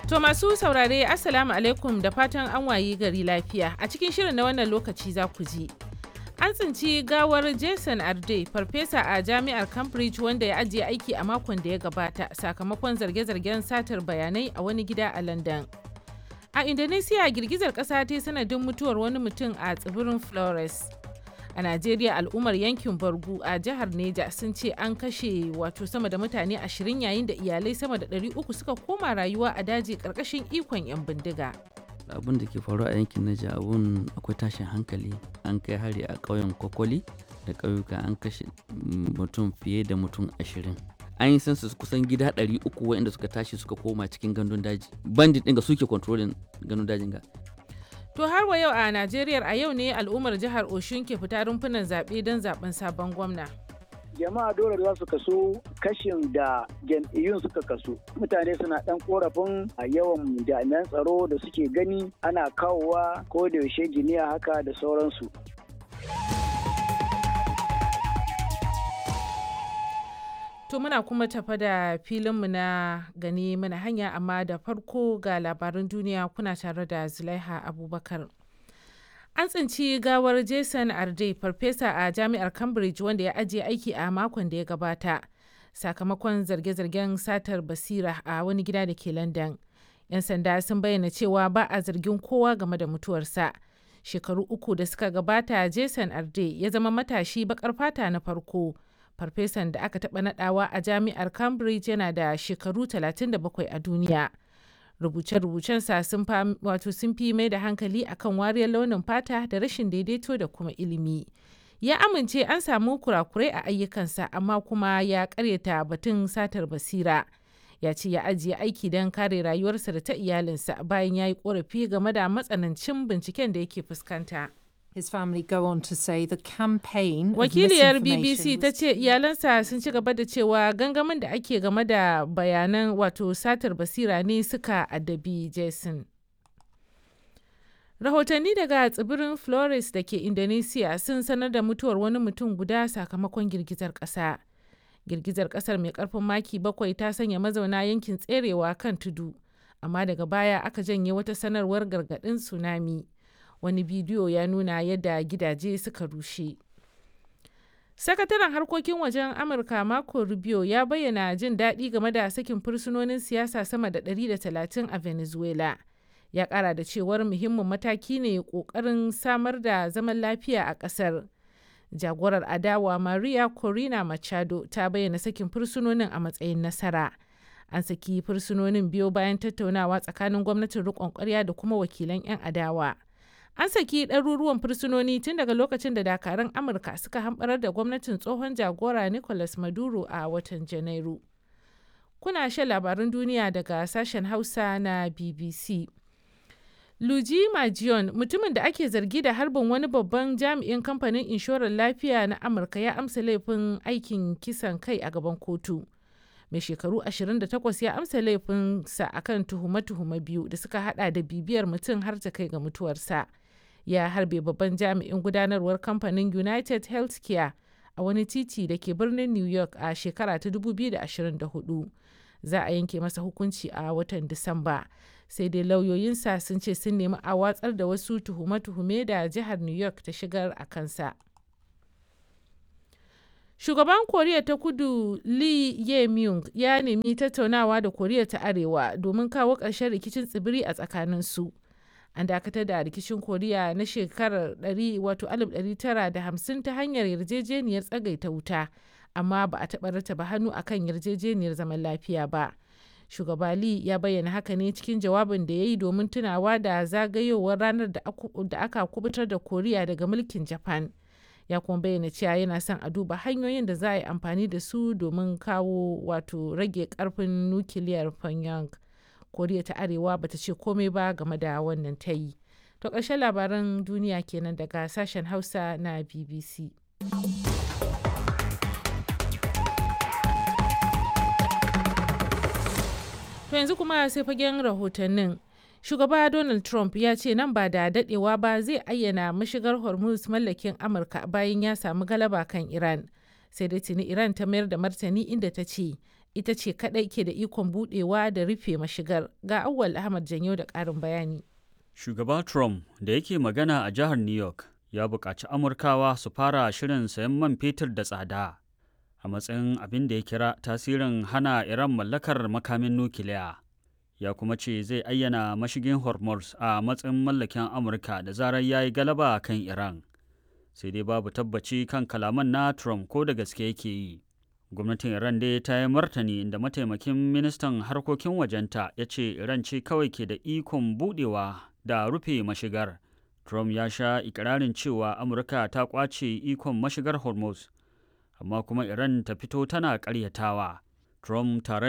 To masu saurare, Assalamu alaikum, da fatan an wayi gari lafiya. A cikin shirin na wannan lokaci za ku ji. An tsinci gawar Jason Arde, farfesa a jami'ar Cambridge wanda ya ajiye aiki a makon da ya gabata sakamakon zarge-zargen satar bayanai, a wani gida a London. A Indonesia, girgizar ƙasa ta sanadin mutuwar wani mutum a tsibirin Flores. A Najeriya, al'ummar yankin Bargu a jihar Neja sun ce an kashe wato sama da mutane 20 yayin da iyalai sama da 300 suka koma rayuwa a daji karkashin ikon 'yan bindiga. Abun da ke faruwa a yankin Neja, abun akwai tashin hankali. An kai hari a ƙauyen Kokoli da ƙauyuka, an kashe mutum fiye da mutum 20. An yi census kusan gida 300 waɗanda suka tashi suka koma cikin gandun daji. Bandit ɗin ga suke controlling gandun dajin ga. To har wa yau a Najeriya, a yau ne al'ummar jihar Oshun ke fita rumfunan zaɓe don zaɓen sabon gwamna. Jama'a dole za su kasu kashin da jam'iyyun suka kasu. Mutane suna ɗan korafin a yawan jami'an tsaro da suke gani ana kawowa ko da yaushe, jiniya haka da sauransu. To muna kuma tafa da filinmu na gani mana hanya, amma da farko ga labaran duniya, kuna tare da Zulaiha Abubakar. An tsinci gawar Jason Arde, farfesa a jami'ar Cambridge wanda ya ajiye aiki a makon da ya gabata sakamakon zarge-zargen satar basira, a wani gida da ke London. 'Yan sanda sun bayyana cewa ba a zargin kowa game da mutuwarsa. Shekaru 3 da suka gabata, Jason Arde ya zama matashi bakar fata na farko farfesan da aka taɓa nadawa a jami'ar Cambridge, yana da shekaru 37 a duniya. Rubuce-rubucensa sun wato sun fi mai da hankali akan wariyar launin fata da rashin daidaito da kuma ilimi. Ya amince an samu kurakurai a ayyukansa, amma kuma ya karyata batun satar basira. Ya ce ya ajiye aiki don kare rayuwarsa da ta iyalinsa bayan ya yi korafi game da matsanancin binciken da yake fuskanta. His family go on to say the campaign of Wakiliyar misinformation BBC ta was ce iyalansa sun ci gaba da cewa gangamin da ake game da bayanan wato satar basira ne suka addabi Jason. Rahotanni daga tsibirin Flores da ke Indonesia sun sanar da mutuwar wani mutum guda sakamakon girgizar ƙasa. Girgizar ƙasar mai ƙarfin maki 7 ta sanya mazauna yankin tserewa kan tudu, amma daga baya aka janye wata sanarwar gargaɗin tsunami. Wani bidiyo ya nuna yadda gidaje suka rushe. Sakataren harkokin wajen Amurka Marco Rubio ya bayyana jin daɗi game da sakin fursunonin siyasa sama da 130 a Venezuela. Ya ƙara da cewar muhimmin mataki ne ƙoƙarin samar da zaman lafiya a ƙasar. Jagorar adawa Maria Corina Machado ta bayyana sakin fursunonin a matsayin nasara. An saki fursunonin biyo bayan tattaunawa tsakanin gwamnatin riƙon ƙwarya da kuma wakilan 'yan adawa. An saki ɗaruruwan fursunoni tun daga lokacin da dakarun Amurka suka hamɓarar da gwamnatin tsohon jagora Nicolas Maduro a watan Janairu. Kuna shan labarun duniya daga sashen Hausa na BBC. Luigi Majion, mutumin da ake zargi da harbin wani babban jami'in kamfanin inshorar lafiya na Amurka, ya amsa laifin aikin kisan kai a gaban kotu. Mai shekaru 28 ya amsa laifinsa akan tuhume-tuhume biyu da suka hada da bibiyar mutum har ta kai ga mutuwarsa. Ya harbe babban jami'in gudanarwar kamfanin United Healthcare a wani titi da ke birnin New York a shekara ta 2024. Za a yanke masa hukunci a watan Disamba. Sai dai lauyoyinsa sun ce sun nemi a watsar da wasu tuhume-tuhume da jihar New York ta shigar a kansa. Shugaban Koriya ta Kudu Lee Jae-myung ya nemi tattaunawa da Koriya ta Arewa domin kawo ƙarshen rikicin tsibiri a tsakaninsu. An dakatar da rikicin Koriya na shekarar 1950 ta hanyar yarjejeniyar tsagaita wuta, amma ba a taɓa rattaba hannu akan yarjejeniyar zaman lafiya ba. Shugaba Lee ya bayyana haka ne cikin jawabin da ya yi domin tunawa da zagayowar ranar da aka kubutar da Koriya daga mulkin Japan. Ya kuma bayyana cewa yana son a duba hanyoyin da za a yi amfani da su domin kawo wato rage karfin nukiliyar Pyongyang. Koriya ta Arewa bata ce komai ba game da wannan tayi. To ƙarshen labaran duniya kenan daga sashen Hausa na BBC. To yanzu kuma sai fagen rahotannin. Shugaba Donald Trump ya ce nan ba da dadewa ba zai ayyana mashigar Hormuz mallakin Amurka bayan ya samu galaba kan Iran. Sai dai tuni Iran ta mayar da martani, inda ta ce Ita ce kaɗai ke da ikon buɗewa da rufe mashigar. Ga Auwal Ahmad Janyo da ƙarin bayani. Shugaba Trump da yake magana a jihar New York ya buƙaci Amurkawa su fara shirin sayan man fetur da tsada a matsayin abin da ya kira tasirin hana Iran mallakar makamin nukiliya. Ya kuma ce zai ayyana mashigin Hormuz a matsayin mallakin Amurka da zarar ya yi galaba kan Iran. Sai dai babu tabbaci kan kalaman na Trump ko da gaske yake yi. Gwamnatin Iran dai ta yi martani inda mataimakin ministan harkokin wajenta ya ce Iran ce kawai ke da ikon budewa da rufe mashigar. Trump ya sha ikirarin cewa Amurka ta kwace ikon mashigar Hormuz, amma kuma Iran ta fito tana karyatawa. Trump tare